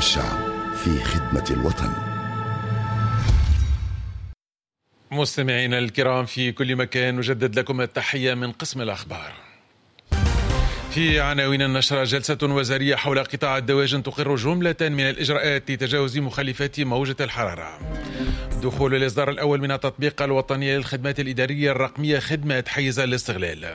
الشعب في خدمة الوطن. مستمعينا الكرام في كل مكان، نجدد لكم التحية من قسم الأخبار. في عناوين النشرة: جلسة وزارية حول قطاع الدواجن تقر جملة من الإجراءات لتجاوز مخلفات موجة الحرارة. دخول الإصدار الأول من التطبيق الوطني للخدمات الإدارية الرقمية خدمة حيز الاستغلال.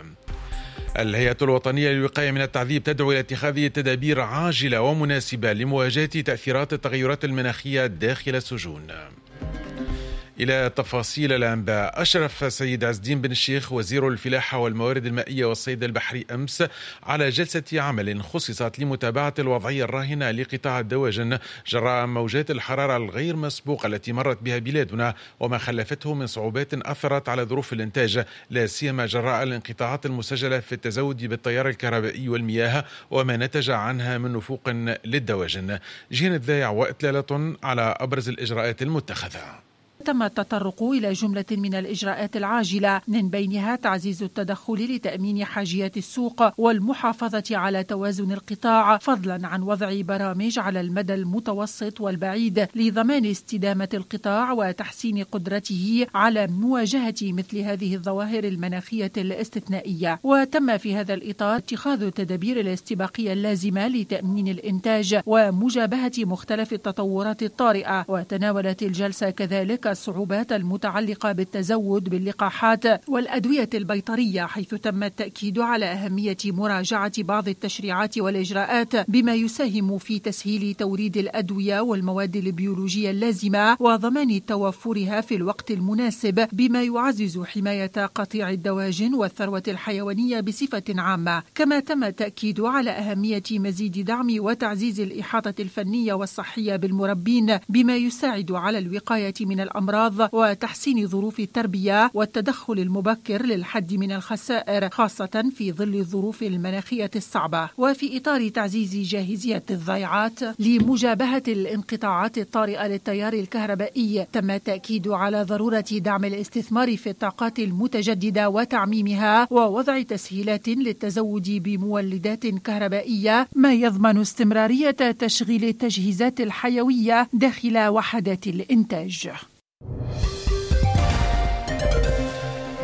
الهيئة الوطنية للوقاية من التعذيب تدعو إلى اتخاذ تدابير عاجلة ومناسبة لمواجهة تأثيرات التغيرات المناخية داخل السجون. إلى تفاصيل الأنباء. أشرف السيد عز الدين بن الشيخ وزير الفلاحة والموارد المائية والصيد البحري أمس على جلسة عمل خصصت لمتابعة الوضعية الراهنة لقطاع الدواجن جراء موجات الحرارة الغير مسبوقة التي مرت بها بلادنا وما خلفته من صعوبات أثرت على ظروف الإنتاج، لا سيما جراء الانقطاعات المسجلة في التزود بالتيار الكهربائي والمياه وما نتج عنها من نفوق للدواجن. جهة الذايع وإطلالة على أبرز الإجراءات المتخذة. تم التطرق إلى جملة من الإجراءات العاجلة، من بينها تعزيز التدخل لتأمين حاجيات السوق والمحافظة على توازن القطاع، فضلا عن وضع برامج على المدى المتوسط والبعيد لضمان استدامة القطاع وتحسين قدرته على مواجهة مثل هذه الظواهر المناخية الاستثنائية. وتم في هذا الإطار اتخاذ التدابير الاستباقية اللازمة لتأمين الإنتاج ومجابهة مختلف التطورات الطارئة. وتناولت الجلسة كذلك الصعوبات المتعلقة بالتزود باللقاحات والأدوية البيطرية، حيث تم التأكيد على أهمية مراجعة بعض التشريعات والإجراءات بما يساهم في تسهيل توريد الأدوية والمواد البيولوجية اللازمة وضمان توفرها في الوقت المناسب، بما يعزز حماية قطيع الدواجن والثروة الحيوانية بصفة عامة. كما تم التأكيد على أهمية مزيد دعم وتعزيز الإحاطة الفنية والصحية بالمربين بما يساعد على الوقاية من الأمراض وتحسين ظروف التربية والتدخل المبكر للحد من الخسائر، خاصة في ظل الظروف المناخية الصعبة. وفي إطار تعزيز جاهزية الضيعات لمجابهة الانقطاعات الطارئة للتيار الكهربائي، تم التأكيد على ضرورة دعم الاستثمار في الطاقات المتجددة وتعميمها ووضع تسهيلات للتزود بمولدات كهربائية، ما يضمن استمرارية تشغيل التجهيزات الحيوية داخل وحدات الإنتاج.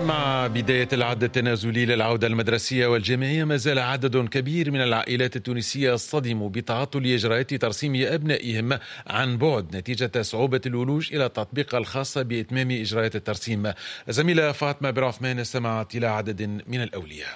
مع بداية العد التنازلي للعودة المدرسية والجامعية، ما زال عدد كبير من العائلات التونسية يصطدم بتعطل إجراءات ترسيم أبنائهم عن بعد نتيجة صعوبة الولوج إلى التطبيق الخاص بإتمام إجراءات الترسيم. زميلة فاطمة بن عثمان استمعت إلى عدد من الأولياء.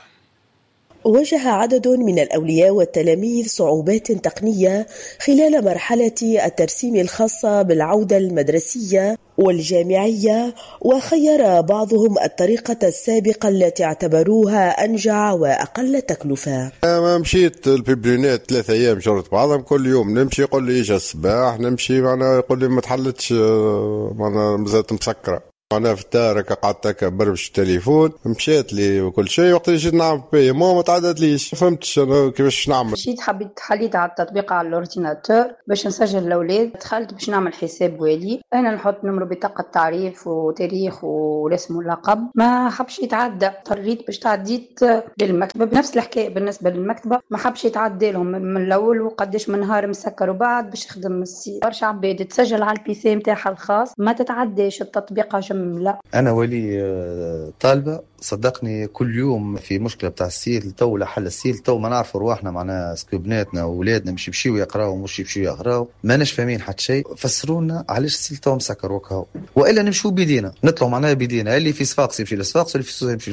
واجه عدد من الأولياء والتلاميذ صعوبات تقنية خلال مرحلة الترسيم الخاصة بالعودة المدرسية والجامعية، وخير بعضهم الطريقة السابقة التي اعتبروها أنجع وأقل تكلفة. أنا مشيت ال Publinet 3 أيام شرط بعضهم، كل يوم نمشي يقول لي إجا الصباح نمشي، معنا يقول لي ما تحلتش، معنا مازالت مسكرة. أنا في الدار قعدت هكا بربش التليفون، مشات لي وكل شيء. وقت اللي جيت نعمل paiement ما تعدتليش، فهمتش أنا كيفاش نعمل. مشيت حبيت حليت على التطبيق على ال ordinateur باش نسجل الأولاد، دخلت باش نعمل حساب والي، أنا نحط numéro بطاقة التعريف وتاريخ والاسم واللقب، ما حبش يتعدى. اضطريت باش تعديت للمكتبة، بنفس الحكاية بالنسبة للمكتبة ما حبش يتعدى لهم من الأول، وقداش من نهار مسكر وبعد باش يخدم ال site. برشا عباد تسجل على ال PC نتاعها الخاص ما تتعداش التطبيق. لا. أنا ولي طالبة، صدقني كل يوم في مشكلة بتاع ال site، تو لحل ال site تو ما نعرفوا رواحنا، معناها est-ce que بناتنا وولادنا مش يمشيو يقراو مش يمشيو يقراو، ماناش فاهمين حتى شيء. فسرونا علاش ال site تو مسكر وكهو، والا نمشيو بيدينا نطلعوا معناها بيدينا، اللي في صفاقس يمشي لصفاقس، واللي في سوسة يمشي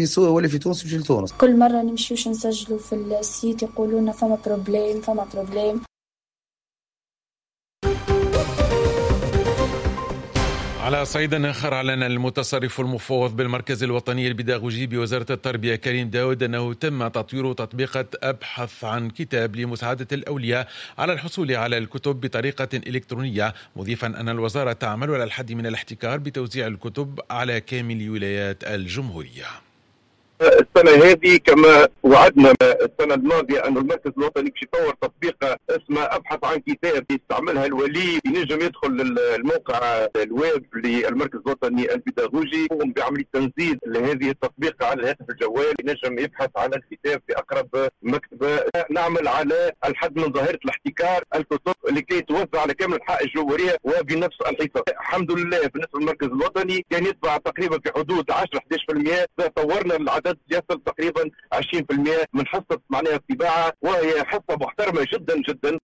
لسوسة، واللي في تونس يمشي لتونس. كل مرة نمشيوش نسجلوا في ال site يقولوا لنا فما problème فما problème. على صعيد آخر، أعلن المتصرف المفوض بالمركز الوطني البيداغوجي بوزارة التربية كريم داود أنه تم تطوير تطبيقة أبحث عن كتاب لمساعدة الأولياء على الحصول على الكتب بطريقة إلكترونية، مضيفا أن الوزارة تعمل على الحد من الاحتكار بتوزيع الكتب على كامل ولايات الجمهورية. السنة هذه كما وعدنا السنة الماضية أن المركز الوطني باش يطور تطبيقة اسمها ابحث عن كتاب يستعملها الولي، ينجم يدخل الموقع الويب للمركز الوطني البيداغوجي، يقوم بعملية تنزيل لهذه التطبيق على الهاتف الجوال، ينجم يبحث على الكتاب في اقرب مكتبه. نعمل على الحد من ظاهره الاحتكار الكتب لكي توزع على كامل انحاء الجمهورية وبنفس الحصة. الحمد لله بالنسبة للمركز الوطني كان يتبع تقريبا في حدود 10 11%، طورنا العدد يصل تقريبا 20% من حصة معناها الطباعة، وهي حصة محترمه جدا جدا.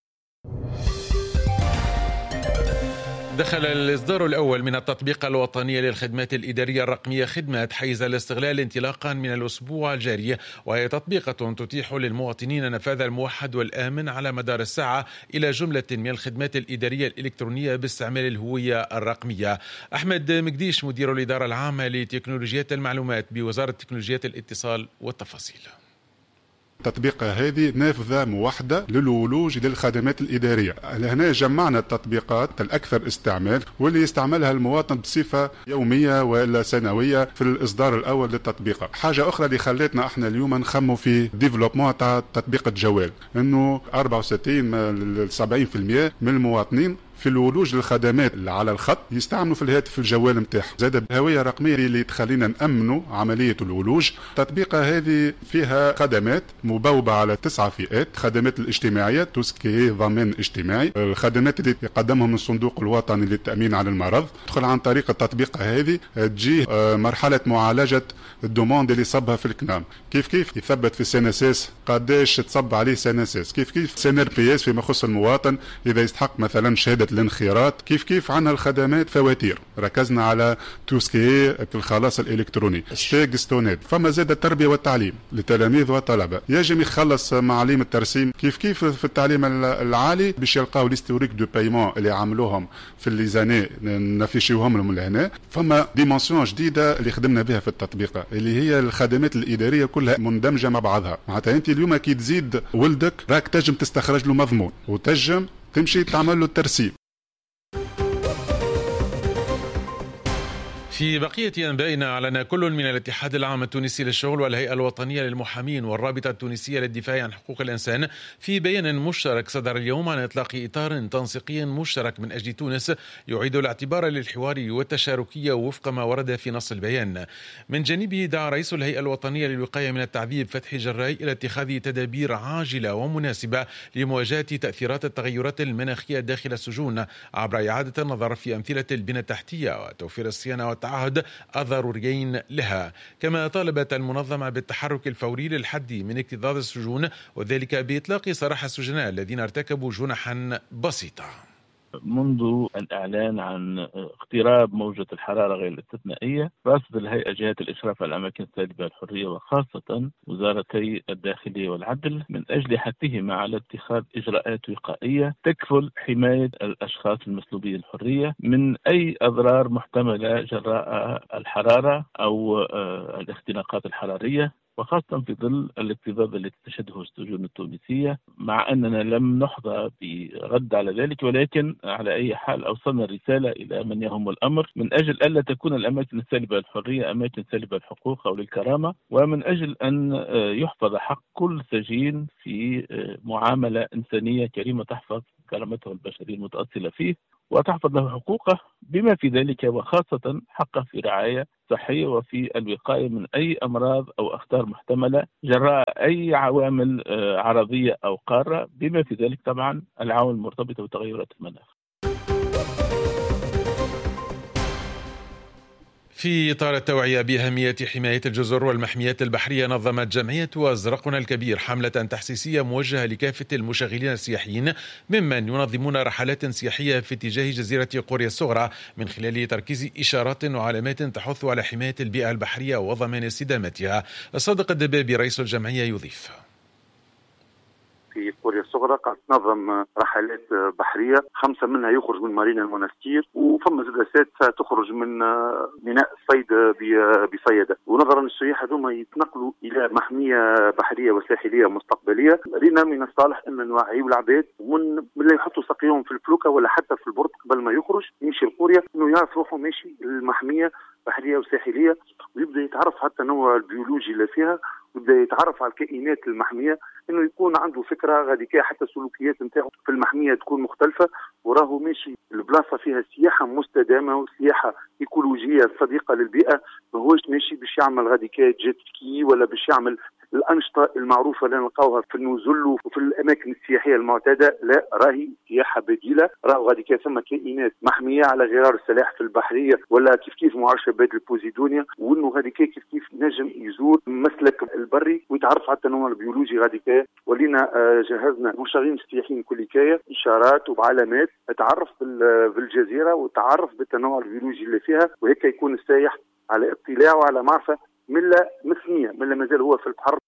دخل الإصدار الأول من التطبيق الوطني للخدمات الإدارية الرقمية خدمات حيز الاستغلال انطلاقا من الأسبوع الجاري، وهي تطبيقة تتيح للمواطنين النفاذ الموحد والآمن على مدار الساعة إلى جملة من الخدمات الإدارية الإلكترونية باستعمال الهوية الرقمية. أحمد مقديش مدير الإدارة العامة لتكنولوجيات المعلومات بوزارة تكنولوجيات الاتصال والتفاصيل. التطبيقة هذه نافذة موحدة للولوج للخدمات الإدارية. لهنا جمعنا التطبيقات الأكثر استعمال واللي يستعملها المواطن بصفة يومية ولا سنوية في الإصدار الأول للتطبيقة. حاجة أخرى اللي خلتنا احنا اليوم نخمو في développement تاع تطبيق الجوال، انه 64 ل 70% من المواطنين في الولوج للخدمات اللي على الخط يستعملوا في الهاتف الجوال نتاعهم. زاد الهوية الرقمية اللي تخلينا نامنوا عملية الولوج. التطبيقه هذه فيها خدمات مبوبه على 9 فئات: خدمات الاجتماعية tout ce qui ضمان اجتماعي، الخدمات اللي يقدمهم الصندوق الوطني للتامين على المرض. تدخل عن طريق التطبيقه هذه تجي مرحلة معالجة ال demande اللي صبها في الكنام، كيف كيف يثبت في CNSS قداش تصب عليه CNSS، كيف كيف CNRPS فيما يخص المواطن اذا يستحق مثلا شهادة الانخراط، كيف كيف عندنا الخدمات فواتير، ركزنا على tout ce qui الخلاص الالكتروني STEG STONED. فما زاد التربية والتعليم للتلاميذ والطلبة، يجب يخلص معاليم الترسيم، كيف كيف في التعليم العالي باش يلقاو l'historique de paiement اللي عملوهم في les années نفيشيوهم لهم لهنا. فما dimension جديدة اللي خدمنا بها في التطبيق اللي هي الخدمات الادارية كلها مندمجه مع بعضها. معناتها انت اليوم كي تزيد ولدك راك تنجم تستخرج له مضمون وتنجم تمشي تعمل له الترسيم. في بقية أنبائنا، أعلن كل من الاتحاد العام التونسي للشغل والهيئة الوطنية للمحامين والرابطة التونسية للدفاع عن حقوق الإنسان في بيان مشترك صدر اليوم عن إطلاق إطار تنسيقي مشترك من أجل تونس يعيد الاعتبار للحوار والتشاركية وفق ما ورد في نص البيان. من جانبه دعا رئيس الهيئة الوطنية للوقاية من التعذيب فتحي جراي إلى اتخاذ تدابير عاجلة ومناسبة لمواجهة تأثيرات التغيرات المناخية داخل السجون عبر إعادة النظر في أمثلة البنى التحتية وتوفير الصيانة والتعهد الضروريين لها. كما طالبت المنظمة بالتحرك الفوري للحد من اكتظاظ السجون وذلك بإطلاق سراح السجناء الذين ارتكبوا جنحا بسيطة. منذ الإعلان عن اقتراب موجة الحرارة غير الاستثنائية، رصد الهيئة جهات الإشراف على الأماكن السالبة الحرية وخاصة وزارتي الداخلية والعدل من أجل حثهما على اتخاذ إجراءات وقائية تكفل حماية الأشخاص المسلوبي الحرية من أي أضرار محتملة جراء الحرارة أو الاختناقات الحرارية، وخاصة في ظل الاكتظاظ التي تشهده السجون التونسية، مع أننا لم نحظى برد على ذلك، ولكن على أي حال أوصلنا الرسالة إلى من يهم الأمر من أجل ألا تكون الأماكن السالبة للحرية أماكن سالبة للحقوق أو للكرامة، ومن أجل أن يحفظ حق كل سجين في معاملة إنسانية كريمة تحفظ كرامته البشرية المتأصلة فيه وتحفظ له حقوقه، بما في ذلك وخاصة حقه في رعاية صحية وفي الوقاية من أي أمراض أو أخطار محتملة جراء أي عوامل عرضية أو قارة، بما في ذلك طبعا العوامل المرتبطة بتغيرات المناخ. في إطار التوعية بأهمية حماية الجزر والمحميات البحرية، نظمت جمعية أزرقنا الكبير حملة تحسيسية موجهة لكافة المشغلين السياحيين ممن ينظمون رحلات سياحية في اتجاه جزيرة قوريا الصغرى من خلال تركيز إشارات وعلامات تحث على حماية البيئة البحرية وضمان استدامتها. الصادق الدبابي رئيس الجمعية يضيف: في قوريا الصغرى قاعد تنظم رحلات بحرية، 5 منها يخرج من مارينا المونستير، وفما زاد 6 تخرج من ميناء الصيد بصيادة. ونظرا للسياح هذوما يتنقلوا الى محمية بحرية وساحليه مستقبلية، رينا من الصالح ان نوعيوا العباد ومن لا يحطوا ساقيهم في الفلوكه ولا حتى في البرد قبل ما يخرج يمشي لقوريا، انه يعرف روحه ماشي المحميه بحرية وساحليه، ويبدا يتعرف حتى النوع البيولوجي اللي فيها، ويبدا يتعرف على الكائنات المحميه، انه يكون عنده فكرة غاديكا حتى السلوكيات نتاعو في المحميه تكون مختلفة، وراهو ماشي البلاصة فيها سياحة مستدامة وسياحه ايكولوجيه صديقه للبيئة، ماهوش ماشي باش يعمل غاديكا jet ski ولا باش يعمل الأنشطة المعروفة اللي نلقاوها في النزل وفي الأماكن السياحية المعتادة. لا، راهي سياحة بديلة، راهو غادي كان ثم كائنات محمية على غرار السلاحف البحرية ولا كيف كيف معشبات البوزيدونيا، وإنه غادي كيف كيف نجم يزور مسلك البري ويتعرف على التنوع البيولوجي غادي كان. ولينا جهزنا مشغلين السياحيين كل كاية إشارات وعلامات تعرف بالجزيرة وتعرف بالتنوع البيولوجي اللي فيها، وهيك يكون السائح على اطلاع وعلى معرفة من لا مثنية من لا مازال هو في البحر.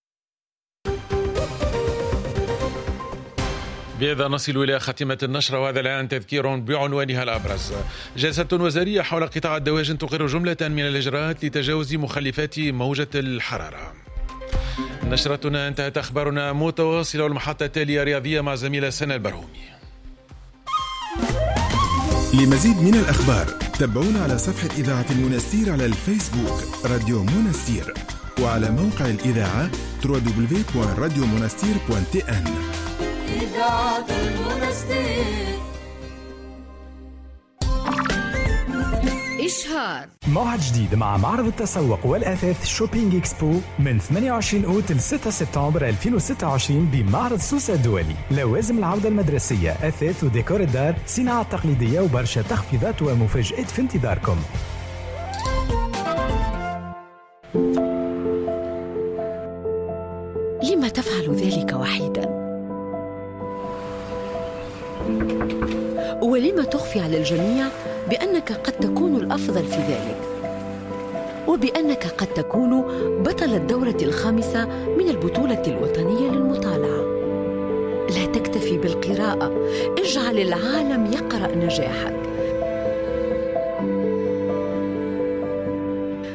بهذا نصل إلى خاتمة النشرة، وهذا الآن تذكير بعنوانها الأبرز. جلسة وزارية حول قطاع الدواجن تقر جملة من الإجراءات لتجاوز مخلفات موجة الحرارة. نشرتنا انتهت، أخبارنا متواصلة، والمحطة التالية رياضية مع زميلة سنة البرهومي. لمزيد من الأخبار تابعونا على صفحة إذاعة المنستير على الفيسبوك راديو منستير، وعلى موقع الإذاعة www.radiomonastir.tn. إذاعة المنستير. إشهار موعد جديد مع معرض التسوق والأثاث Shopping Expo من 28 أوت ل 6 سبتمبر 2026 بمعرض سوسة الدولي. لوازم العودة المدرسية، أثاث وديكور الدار، صناعة تقليدية وبرشا تخفيضات ومفاجآت في انتظاركم. لما تفعل ذلك وحيدا؟ ولما تخفي على الجميع بأنك قد تكون الأفضل في ذلك، وبأنك قد تكون بطل الدورة الخامسة من البطولة الوطنية للمطالعة؟ لا تكتفي بالقراءة، اجعل العالم يقرأ نجاحك.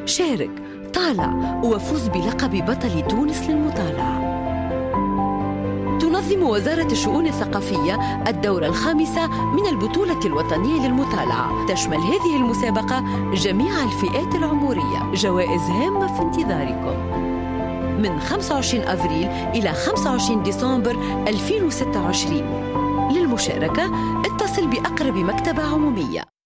شارك، طالع، وفوز بلقب بطل تونس للمطالعة. تنظم وزارة الشؤون الثقافية الدورة الخامسة من البطولة الوطنية للمطالعة. تشمل هذه المسابقة جميع الفئات العمرية. جوائز هامة في انتظاركم من 25 أفريل إلى 25 ديسمبر 2026. للمشاركة اتصل بأقرب مكتبة عمومية.